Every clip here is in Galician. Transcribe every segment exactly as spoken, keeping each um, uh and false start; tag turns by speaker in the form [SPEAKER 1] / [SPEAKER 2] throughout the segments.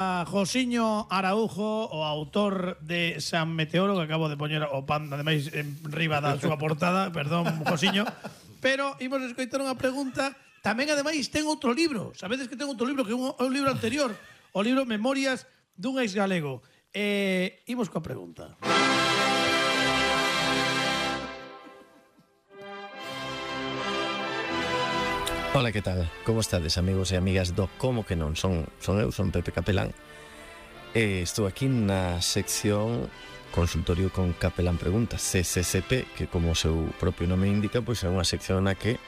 [SPEAKER 1] a Josiño Araújo, o autor de San Meteoro, que acabo de poñer o pan, ademais, en riba da súa portada, perdón, Josiño, pero imos escoitar unha pregunta. Tamén, ademais, ten outro libro. Sabedes que ten outro libro, que é un, un libro anterior, o libro Memorias dun ex galego. Eh, imos coa pregunta.
[SPEAKER 2] Ola, que tal? Como estades, amigos e amigas do Como que non? Son, son eu, son Pepe Capelán. E estou aquí na sección Consultorio con Capelán Preguntas, C C C P, que como o seu propio nome indica, pois é unha sección na que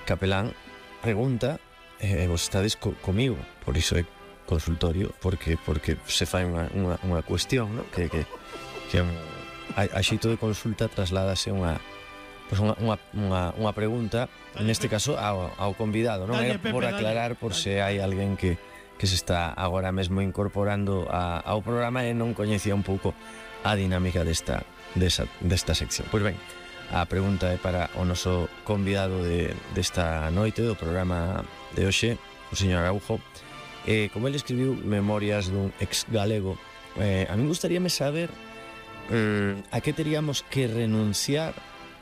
[SPEAKER 2] Capelán pregunta e vos estades co, comigo. Por iso é consultorio, porque porque se fai unha, unha, unha cuestión, ¿no? que, que, que un, a, a xeito de consulta trasládase unha Pois unha, unha, unha, unha pregunta, neste caso ao, ao convidado, non?
[SPEAKER 1] Dalle,
[SPEAKER 2] É
[SPEAKER 1] Pepe,
[SPEAKER 2] por aclarar,
[SPEAKER 1] dalle,
[SPEAKER 2] por
[SPEAKER 1] dalle.
[SPEAKER 2] se hai alguén que, que se está agora mesmo incorporando a, ao programa e non coñecía un pouco a dinámica desta, desta, desta sección. Pois ben, a pregunta é para o noso convidado de, desta noite do programa de hoxe, o señor Araujo. Eh, como ele escribiu Memorias dun ex galego, eh, a mí gustaríame saber mm, a que teríamos que renunciar.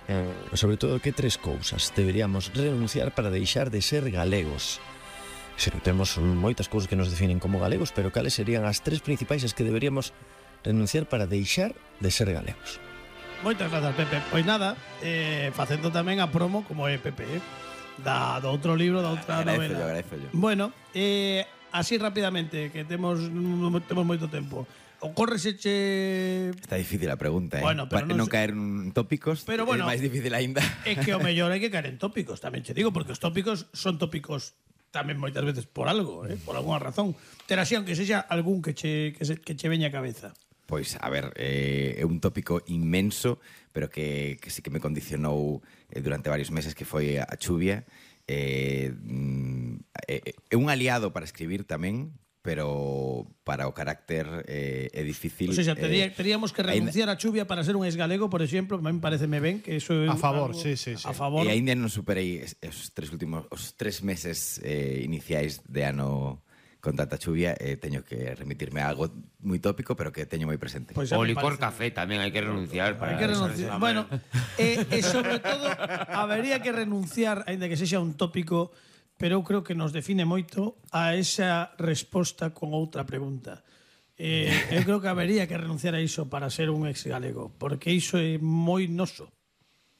[SPEAKER 2] Eh, sobre todo, que tres cousas deberíamos renunciar para deixar de ser galegos? Se temos moitas cousas que nos definen como galegos, pero cales serían as tres principais as que deberíamos renunciar para deixar de ser galegos?
[SPEAKER 1] Moitas grazas, Pepe. Pois nada, eh, facendo tamén a promo, como é Pepe, eh, da, do outro libro, da outra
[SPEAKER 3] Agradezo
[SPEAKER 1] novela.
[SPEAKER 3] yo, agradezo yo.
[SPEAKER 1] Bueno, eh, así rapidamente, que temos, temos moito tempo. Ocórreseche...
[SPEAKER 3] Está difícil a pregunta, eh?
[SPEAKER 1] Bueno, pero
[SPEAKER 3] Para
[SPEAKER 1] non
[SPEAKER 3] non
[SPEAKER 1] sé-
[SPEAKER 3] caer en tópicos,
[SPEAKER 1] Pero bueno,
[SPEAKER 3] é máis difícil aínda.
[SPEAKER 1] É que o mellor hai que caer en tópicos, tamén che digo, porque os tópicos son tópicos tamén moitas veces por algo, eh, por alguna razón. Terá así, aunque sexa algún que che, que, se, que che veña a cabeza.
[SPEAKER 3] Pois, a ver, eh, é un tópico inmenso, pero que, que sí que me condicionou eh, durante varios meses, que foi a chuvia. Eh, mm, é, é un aliado para escribir tamén, pero para o carácter eh, é difícil.
[SPEAKER 1] O sea, tería,
[SPEAKER 3] eh,
[SPEAKER 1] teríamos que renunciar a chuvia para ser un ex galego, por exemplo, a mí pareceme ben que eso é
[SPEAKER 4] A favor,
[SPEAKER 1] algo,
[SPEAKER 4] sí, sí, sí.
[SPEAKER 1] A favor.
[SPEAKER 3] E aínda non superei es- os tres últimos os tres meses eh, iniciais de ano con tanta chuvia, eh, teño que remitirme a algo moi tópico, pero que teño moi presente.
[SPEAKER 1] Pois a
[SPEAKER 5] O
[SPEAKER 1] mí
[SPEAKER 5] licor
[SPEAKER 1] parece-
[SPEAKER 5] café tamén hai que renunciar para
[SPEAKER 1] Hai que
[SPEAKER 5] deixarse
[SPEAKER 1] renunciar.
[SPEAKER 5] de
[SPEAKER 1] Bueno,
[SPEAKER 5] mamar.
[SPEAKER 1] e, e sobre todo habería que renunciar, aínda que sexa un tópico, pero eu creo que nos define moito a esa resposta con outra pregunta. Eh, eu creo que habería que renunciar a iso para ser un ex galego, porque iso é moi noso.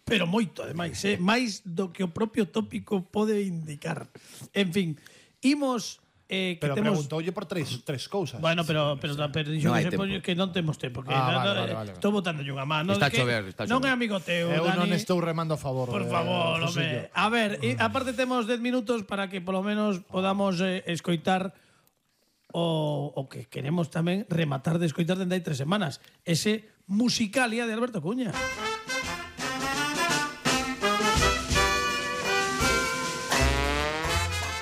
[SPEAKER 1] Pero moito, ademais, eh? máis do que o propio tópico pode indicar. En fin, imos... Eh, que
[SPEAKER 4] Pero
[SPEAKER 1] temos...
[SPEAKER 4] preguntoulle por tres, tres cousas.
[SPEAKER 1] Bueno, pero pero, pero dixo
[SPEAKER 3] Non
[SPEAKER 1] que,
[SPEAKER 3] hai
[SPEAKER 1] se
[SPEAKER 3] tempo.
[SPEAKER 1] poño, que non temos tempo, que
[SPEAKER 4] Ah,
[SPEAKER 1] nada,
[SPEAKER 4] vale, vale, vale,
[SPEAKER 1] estou botándolle unha mano.
[SPEAKER 5] Está
[SPEAKER 1] de que
[SPEAKER 5] a chover, está a
[SPEAKER 1] Non
[SPEAKER 5] chover.
[SPEAKER 1] é amigo teu,
[SPEAKER 4] Eu non
[SPEAKER 1] Dani.
[SPEAKER 4] estou remando a favor.
[SPEAKER 1] Por
[SPEAKER 4] eh,
[SPEAKER 1] favor,
[SPEAKER 4] Josillo.
[SPEAKER 1] home. A ver, e, aparte temos dez minutos para que polo menos podamos eh, escoitar o, o que queremos tamén rematar de escoitar dende hai tres semanas. Ese Musicalia de Alberto Cuña.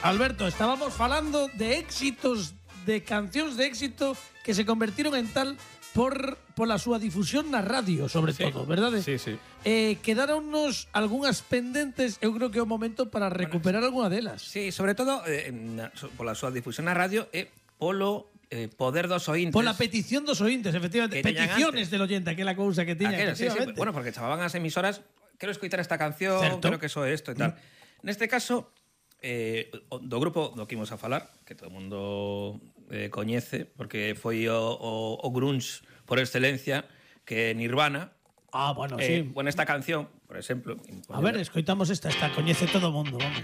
[SPEAKER 1] Alberto, estábamos falando de éxitos, de cancións de éxito que se convertiron en tal por pola súa difusión na radio, sobre
[SPEAKER 6] Sí.
[SPEAKER 1] todo, verdade?
[SPEAKER 6] Sí, sí.
[SPEAKER 1] Eh, quedáronnos algunhas pendentes, eu creo que é o momento para recuperar algunha delas.
[SPEAKER 6] Sí, sobre todo eh, na, so, pola súa difusión na radio e polo eh, poder dos ointes.
[SPEAKER 1] Pola petición dos ointes, efectivamente.
[SPEAKER 6] Que teñan
[SPEAKER 1] Peticiones
[SPEAKER 6] antes.
[SPEAKER 1] del oyente, aquela cousa que tiña.
[SPEAKER 6] Aquelo, sí, sí,
[SPEAKER 1] efectivamente.
[SPEAKER 6] bueno, porque chamaban as emisoras, quero escoitar esta canción,
[SPEAKER 1] Certo.
[SPEAKER 6] quero que soe isto e tal. Mm. Neste caso, eh, o- do grupo do que imos a falar, que todo o mundo eh, coñece, porque foi o, o, o grunge por excelencia, que é Nirvana.
[SPEAKER 1] Ah, bueno,
[SPEAKER 6] Eh,
[SPEAKER 1] sí.
[SPEAKER 6] bueno, esta canción, por exemplo...
[SPEAKER 1] A ver, escoitamos esta, esta coñece todo o mundo, vamos.